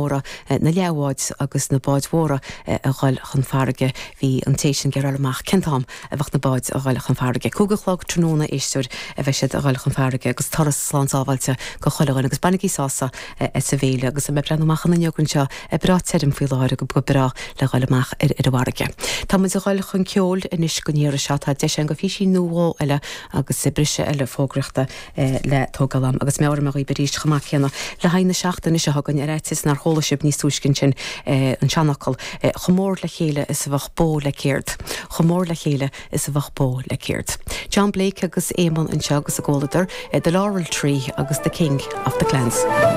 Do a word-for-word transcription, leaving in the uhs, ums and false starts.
mhóra na leathbháid agus na báid mhóra a dhul chun farraige bhí an té sin geará amach cén t-am a bheadh na báid a dhul chun farraige. Cúig a chlog tráthnóna éisteoir a bheidh siad a dhul chun farraige agus turas slán sábháilte go chuile dhuine agus bainigí sásamh as an bhféile agus me breathnú amach an fhuinneog anseo breá tirim faoi láthair go go breá le dhul amach ar ar an bhfarraige. Tá muid a dhul chun ceoil anois go ndéara seo tá deis go fií nó eile agus briseadh eile fógraíochta le tógáil agus meabhraím daoibh arís chomh maith céanna le haghaidh na seachtaine seo chugainn ar fhaitíos nár chuala sibh níos túisce sin an seanfhocal chomh mór le chéile is a bheadh bó le céard. Chomh mór le chéile is a bheadh bó le céard. John Blake agus Éamon anseo agus a gcomhluadar the Laurel Tree agus the King of the Clans.